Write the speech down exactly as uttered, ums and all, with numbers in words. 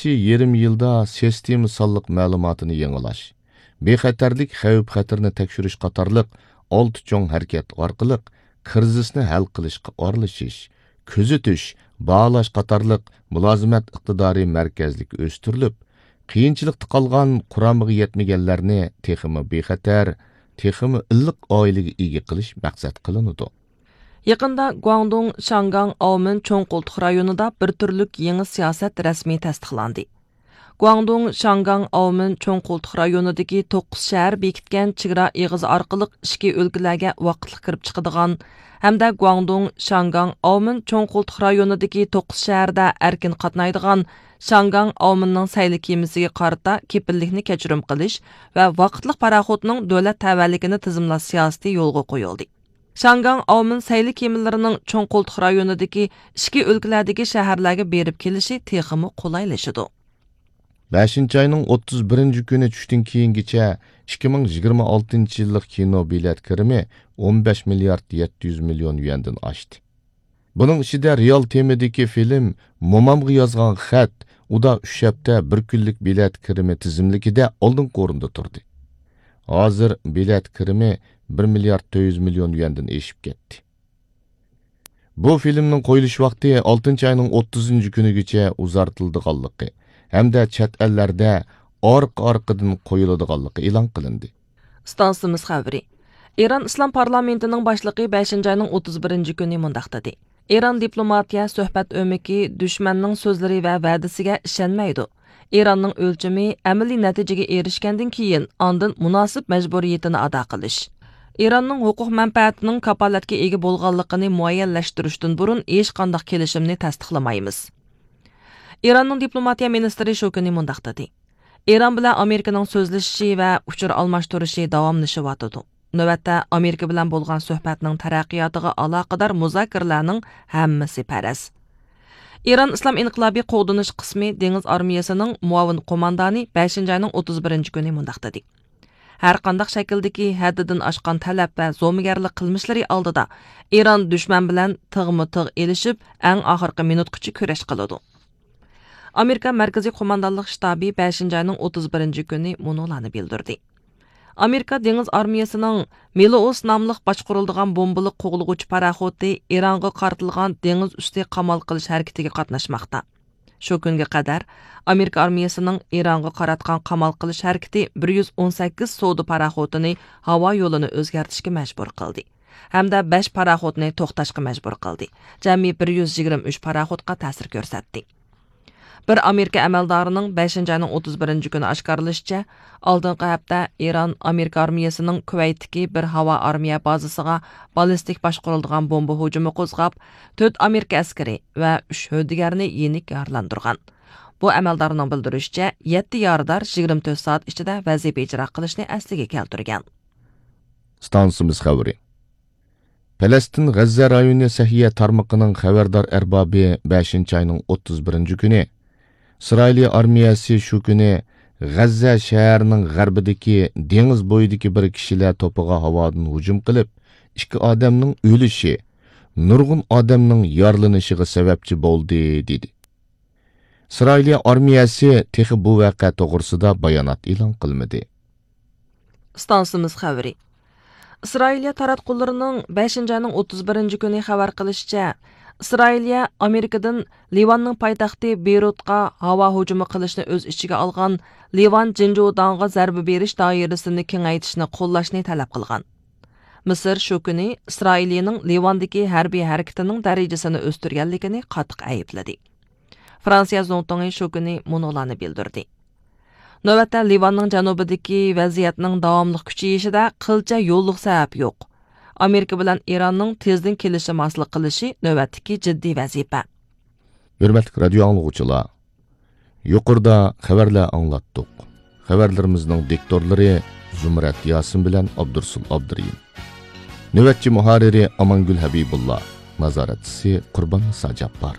يېرىم يىلدا سىستېما سانلىق مەلۇماتىنى يېڭىلاش، بىخەتەرلىك خەۋپ-خەتىرىنى تەكشۈرۈش قاتارلىق ئالتە چوڭ ھەرىكەت ئارقىلىق كىرىزىسنى ھەل قىلىشقا ئارىلىشىش، كۆزىتىش، باھالاش قاتارلىق مۇلازىمەت ئىقتىدارى مەركەزلىك ئۆستۈرۈلۈپ، قىيىنچىلىقتا قالغان، قۇرامىغا يەتمىگەنلەرنى تېخىمۇ بىخەتەر، تېخىمۇ ئىللىق ئائىلىگە ئىگە قىلىش مەقسەت قىلىنىدۇ. يېقىندا گۇاڭدۇڭ، شياڭگاڭ، ئاۋمېن چوڭ قولتۇق رايونىدا بىر تۈرلۈك يېڭى سىياسەت رەسمىي تەستىقلاندى. گۇاڭدۇڭ، شياڭگاڭ، ئاۋمېن چوڭ قولتۇق رايونىدىكى توققۇز شەھەر بېكىتكەن چېگرا ئېغىزى ئارقىلىق ئىچكى ئۆلكىلەرگە ۋاقىتلىق كىرىپ چىقىدىغان ھەمدە گۇاڭدۇڭ، شياڭگاڭ، ئاۋمېن چوڭ قولتۇق رايونىدىكى توققۇز شەھەردە ئەركىن قاتنايدىغان شياڭگاڭ، ئاۋمېننىڭ سەيلە كېمىسىگە قارىتا كېپىللىكنى كەچۈرۈم قىلىش ۋە ۋاقىتلىق پاراخوتنىڭ دۆلەت تەۋەلىكىنى تىزىملاش سىياسىتى يولغا قويۇلدى. شياڭگاڭ، ئاۋمېن سەيلە كېمىلىرىنىڭ چوڭ قولتۇق رايونىدىكى ئىچكى ئۆلكىلەردىكى شەھەرلەرگە بېرىپ كېلىشى تېخىمۇ قولايلىشىدۇ. بەشىنچى ئاينىڭ ئوتتۇز بىرىنچى كۈنى چۈشتىن كېيىنگىچە ئىككى مىڭ يىگىرمە ئالتىنچى يىللىق كىنو بېلەت كىرىمى ئون بەش مىليارد يەتتە يۈز مىليون يۈەندىن ئاشتى. بۇنىڭ ئىچىدە رېئال تېمىدىكى فىلىم، مومامغا يازغان خەت، ئۇدا ئۈچ ھەپتە بىر كۈنلۈك بېلەت كىرىمى تىزىملىكىدە ئالدىنقى ئورۇندا تۇردى. ھازىر بېلەت كىرىمى بىر مىليارد تۆت يۈز مىليون يۈەندىن ئېشىپ كەتتى. بۇ فىلىمنىڭ قويۇلۇش ۋاقتى ئالتىنچى ئاينىڭ ئوتتۇزىنچى كۈنىگىچە ئۇزارتىلىدىغانلىقى ھەمدە چەت ئەللەردە ئارقا-ئارقىدىن قويۇلىدىغانلىقى ئېلان قىلىندى. ئىستانسىمىز خەۋىرى. ئىران ئىسلام پارلامېنتىنىڭ باشلىقى بەشىنچى ئاينىڭ ئوتتۇز بىرىنچى كۈنى مۇنداق دېدى: ئىران دىپلوماتىيە سۆھبەت ئۆمىكى دۈشمەننىڭ سۆزلىرى ۋە ۋەدىسىگە ئىشەنمەيدۇ. ئىراننىڭ ئۆلچىمى ئەمەلىي نەتىجىگە ئېرىشكەندىن كېيىن، ئاندىن مۇناسىپ مەجبۇرىيىتىنى ئادا قىلىش. ئىراننىڭ ھوقۇق مەنپەئەتىنىڭ كاپالەتكە ئىگە بولغانلىقىنى مۇئەييەنلەشتۈرۈشتىن بۇرۇن ھېچقانداق كېلىشىمنى تەستىقلىمايمىز. ئىراننىڭ دىپلوماتىيە مىنىستىرى شۇ كۈنى مۇنداق دېدى: ئىران بىلەن ئامېرىكىنىڭ سۆزلىشىشى ۋە ئۇچۇر ئالماشتۇرۇشى داۋاملىشىۋاتىدۇ. نۆۋەتتە ئامېرىكا بىلەن بولغان سۆھبەتنىڭ تەرەققىياتىغا ئالاقىدار مۇزاكىرىلەرنىڭ ھەممىسى پەرەز. ئىران ئىسلام ئىنقىلابى قوغدىنىش قىسمى دېڭىز ئارمىيەسىنىڭ مۇئاۋىن قوماندانى بەشىنچى ئاينىڭ ئوتتۇز بىرىنچى كۈنى مۇنداق دېدى: ھەر قانداق شەكىلدىكى ھەددىدىن ئاشقان تەلەپ ۋە زومىگەرلىك قىلمىشلىرى ئالدىدا ئىران دۈشمەن بىلەن تىغمۇ تىغ ئېلىشىپ، ئەڭ ئاخىرقى مىنۇتقىچە كۈرەش قىلىدۇ. ئامېرىكا مەركىزىي قوماندانلىق شتابى بەشىنچى ئاينىڭ ئوتتۇز بىرىنچى كۈنى مۇنۇلارنى بىلدۈردى: ئامېرىكا دېڭىز ئارمىيەسىنىڭ مېلوئوس ناملىق باشقۇرۇلىدىغان بومبىلىق قوغلىغۇچى پاراخوتى ئىرانغا قارىتىلغان دېڭىز ئۈستى قامال قىلىش ھەرىكىتىگە قاتناشماقتا. شۇ كۈنگە قەدەر ئامېرىكا ئارمىيەسىنىڭ ئىرانغا قاراتقان قامال قىلىش ھەرىكىتى بىر يۈز ئون سەككىز سودا پاراخوتىنى ھاۋا يولىنى ئۆزگەرتىشكە مەجبۇر قىلدى ھەمدە بەش پاراخوتنى توختاشقا مەجبۇر قىلدى. جەمئىي بىر يۈز يىگىرمە ئۈچ پاراخوتقا تەسىر كۆرسەتتى. بىر ئامېرىكا ئەمەلدارىنىڭ بەشىنچى ئاينىڭ ئوتتۇز بىرىنچى كۈنى ئاشكارىلىشىچە، ئالدىنقى ھەپتە ئىران ئامېرىكا ئارمىيەسىنىڭ كۇۋەيتتىكى بىر ھاۋا ئارمىيە بازىسىغا باللىستىك باشقۇرۇلىدىغان بومبا ھۇجۇمى قوزغاپ، تۆت ئامېرىكا ئەسكىرى ۋە ئۈچ ھۆددىگەرنى يېنىك يارىلاندۇرغان. بۇ ئەمەلدارنىڭ بىلدۈرۈشىچە، يەتتە يارىدار يىگىرمە تۆت سائەت ئىچىدە ۋەزىپە ئىجرا قىلىشنى ئەسلىگە كەلتۈرگەن. ئىستانسىمىز خەۋىرى. پەلەستىن غەززە رايونى سەھىيە تارمىقىنىڭ خەۋەردار ئەربابى بەشىنچى ئاينىڭ ئوتتۇز بىرىنچى كۈنى ئىسرائىلىيە ئارمىيەسى شۇ كۈنى غەززە شەھىرىنىڭ غەربىدىكى دېڭىز بويىدىكى بىر كىشىلەر توپىغا ھاۋادىن ھۇجۇم قىلىپ، ئىككى ئادەمنىڭ ئۆلۈشى، نۇرغۇن ئادەمنىڭ يارىلىنىشىغا سەۋەبچى بولدى، دېدى. ئىسرائىلىيە ئارمىيەسى تېخى بۇ ۋەقە توغرىسىدا بايانات ئېلان قىلمىدى. ئىستانسىمىز خەۋىرى. ئىسرائىلىيە تاراتقۇلىرىنىڭ بەشىنچى ئاينىڭ ئوتتۇز بىرىنچى كۈنى خەۋەر قىلىشىچە، ئىسرائىلىيە ئامېرىكىدىن لىۋاننىڭ پايتەختى بېيرۇتقا ھاۋا ھۇجۇمى قىلىشنى ئۆز ئىچىگە ئالغان لىۋان جىنجۇداڭغا زەربە بېرىش دائىرىسىنى كېڭەيتىشنى قوللاشنى تەلەپ قىلغان. مىسىر شۇ كۈنى ئىسرائىلىيىنىڭ لىۋاندىكى ھەربىي ھەرىكىتىنىڭ دەرىجىسىنى ئۆستۈرگەنلىكىنى قاتتىق ئەيىبلىدى. فرانسىيە زۇڭتۇڭى شۇ كۈنى مۇنۇلارنى بىلدۈردى. نۆۋەتتە لىۋاننىڭ جەنۇبىدىكى ۋەزىيەتنىڭ داۋاملىق كۈچىيىشىدە قىلچە يوللۇق سەۋەب يوق. ئامېرىكا بىلەن ئىراننىڭ تېزدىن كېلىشىم ھاسىل قىلىشى نۆۋەتتىكى جىددىي ۋەزىپە. ھۆرمەتلىك رادىيو ئاڭلىغۇچىلار، يۇقىرىدا خەۋەرلەر ئاڭلاتتۇق. خەۋەرلىرىمىزنىڭ دىكتورلىرى زۇمرەت ياسىن بىلەن ئابدۇرسۇل ئابدۇرېھىم. نۆۋەتچى مۇھەررىرى ئامانگۈل ھەبىبۇللا. نازارەتچىسى قۇربان نىسا جاپپار.